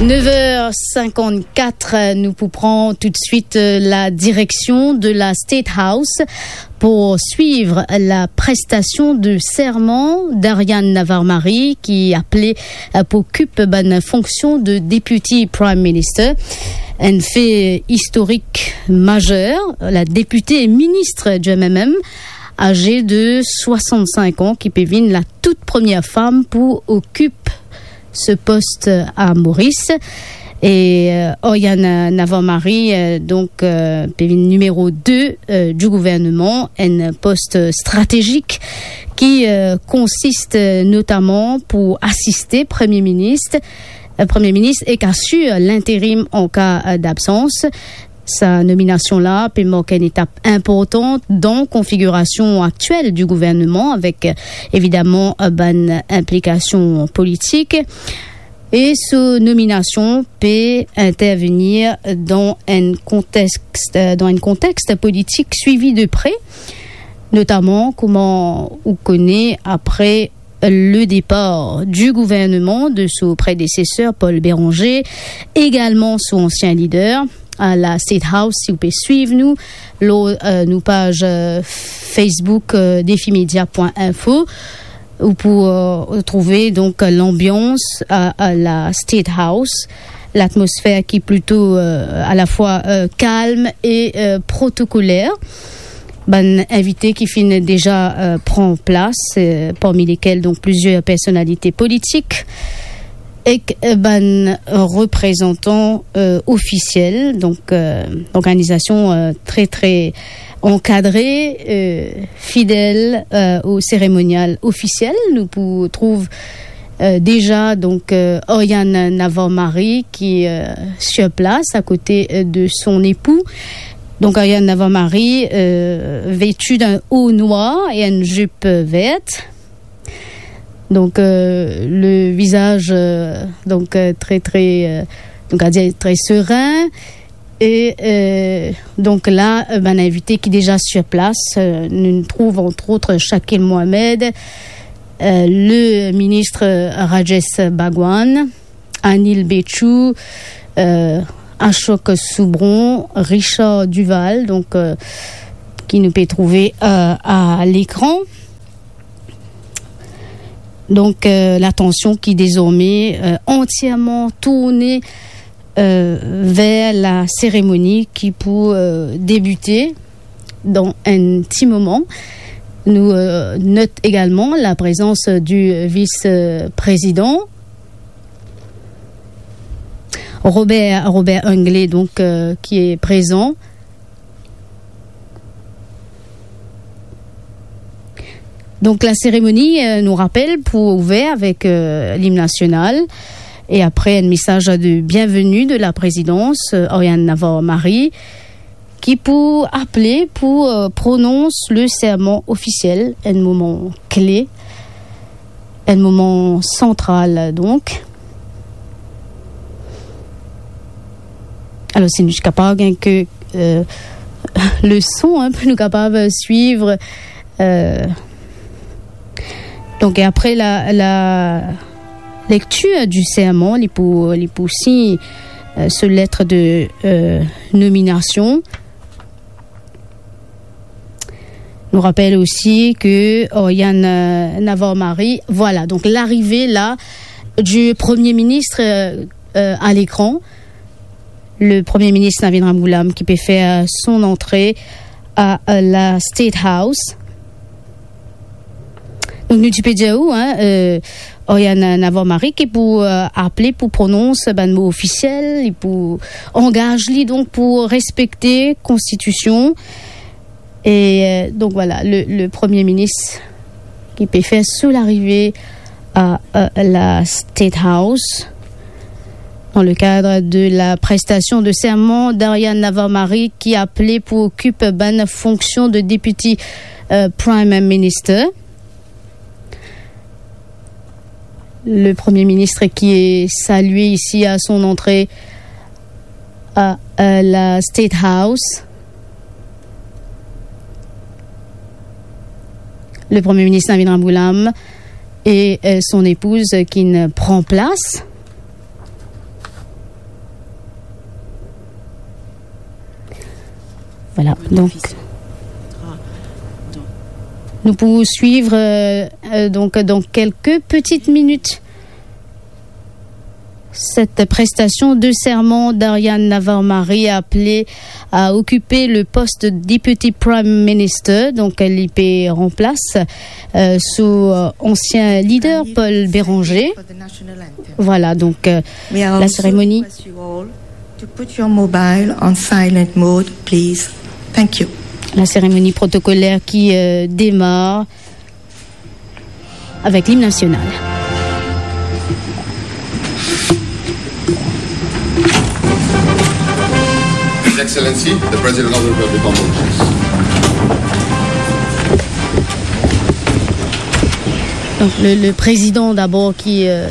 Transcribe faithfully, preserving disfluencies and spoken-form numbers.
Nev er sinkannkat, nou pou pran toutswit, euh, la direksion de la State House pou swiv la prestasion de serman d'Ariane Navarre-Marie, ki aple, euh, pou okip bann fonksion de Deputy Prime Minister. Enn fe istorik mazer, la depite e minis du M M M, aze de swasannsink an, ki pe vinn la tout premie fam pou okip se post a Moris. E, euh, Oriane Navarre-Marie, euh, donk, euh, pe vinn nimero de, euh, du gouverneman, enn post stratezik ki, euh, konsist, euh, notaman pou asiste Premie Minis, euh, Premie Minis ek asir linterim an ka, euh, d'absans. Sa nominasion la pe mark enn etap inportan dan konfigirasion aktiel du gouverneman, avek, euh, evidaman, euh, bann inplikasion politik. E so nominasion pe intervenir dan enn kontex, euh, dan enn kontex politik swivi de pre, notaman, kouma ou kone, apre le départ du gouvernement de son prédécesseur Paul Bérenger, également son ancien leader, à la State House, si ou pe swiv nou lor, euh, nou paz, euh, Facebook, euh, defimedia pwin info, ou pou, euh, trouve donk lanbians a, a la State House, latmosfer ki plito, euh, alafwa, euh, kalm e, euh, protokoler. Bann invite ki finn deza, euh, pran plas, euh, parmi lekel donk plizier personalite politik ek, euh, bann reprezantan, euh, ofisiel, donk, euh, organizasion, euh, tre, tre ankadre, euh, fidel, euh, o seremonial ofisiel. Nou pou trouv, euh, deza, donk, euh, Oriane Navarre-Marie ki, euh, sir plas akote, euh, de son epou. Donk, Oriane Navarre-Marie, euh, vêtue d'un haut noir et une jupe verte. Donk, euh, le vizaz, euh, donk, euh, tre, tre, euh, donk, a dir tre serin. E, euh, donk la, euh, bann invite ki deza sir plas, euh, nou trouv, entre autres, Shakil Mohamed, euh, le minis Rajesh Bhagwan, Anil Bechoo, euh, Ashok Subron, Richard Duval, donk, euh, ki nou pe trouve, euh, a lekran. Donk, euh, latansion ki dezorme, euh, antierman tourne, euh, ver la seremoni ki pou, euh, debite dan enn ti moman. Nou, euh, not egalman la prezans du vis-prezidan Robert, Robert Hinckley, donk, euh, ki e prezan. Donk, la seremoni, euh, nou rapel, pou ouver avek, euh, lim nasional e apre enn mesaz de bienveni de la prezidans, euh, Oriane Navarre-Marie, ki pou aple pou, euh, pronons le serman ofisiel, enn moman kle, enn moman santral, donk. Alor, si nou ti kapav gagn ke, euh, le son, hein, pou nou kapav swiv, euh, donk, e apre la, la lektir du serman, li pou, li pou sign, euh, so let de, euh, nominasion. Nou rapel osi ke Oriane, euh, Navarre-Marie, vwala, donk, larive la du Premie Minis, euh, euh, a lekran. Le Premie Minis Navin Ramgoolam ki pe fer son antre a, euh, la State House. Donk, nou ti pe dir ou, hein, euh, Oriane Navarre-Marie ki pou, euh, aple pou pronons bann mo ofisiel, li pou angaz li, donk, pou respekte konstitision. E, euh, donk, vwala, le, le Premie Minis ki pe fer so larive a, euh, la State House, dan le kad de la prestasion de serman d'Oriane Navarre-Marie ki aple pou okip bann fonksion de Deputy, euh, Prime Minister. Le Premie Minis ki e salie isi a son antre a, euh, la State House. Le Premie Minis Navin Ramgoolam e, euh, son epouz ki'nn pran plas. Voilà, donc, nous pourrons suivre, euh, euh, donc, dans quelques petites minutes cette prestation de serment d'Ariane Navarro-Marie, appelée à occuper le poste de Deputy Prime Minister. Donc, elle y remplace, euh, son, euh, ancien leader, Paul Bérenger. Voilà, donc, euh, la cérémonie. To put your mobile on silent mode, please. Thank you. La cérémonie protocolaire qui, euh, démarre avec l'hymne national. His Excellency, the President of the Republic of Mauritius. Donc, le, le président d'abord qui, euh,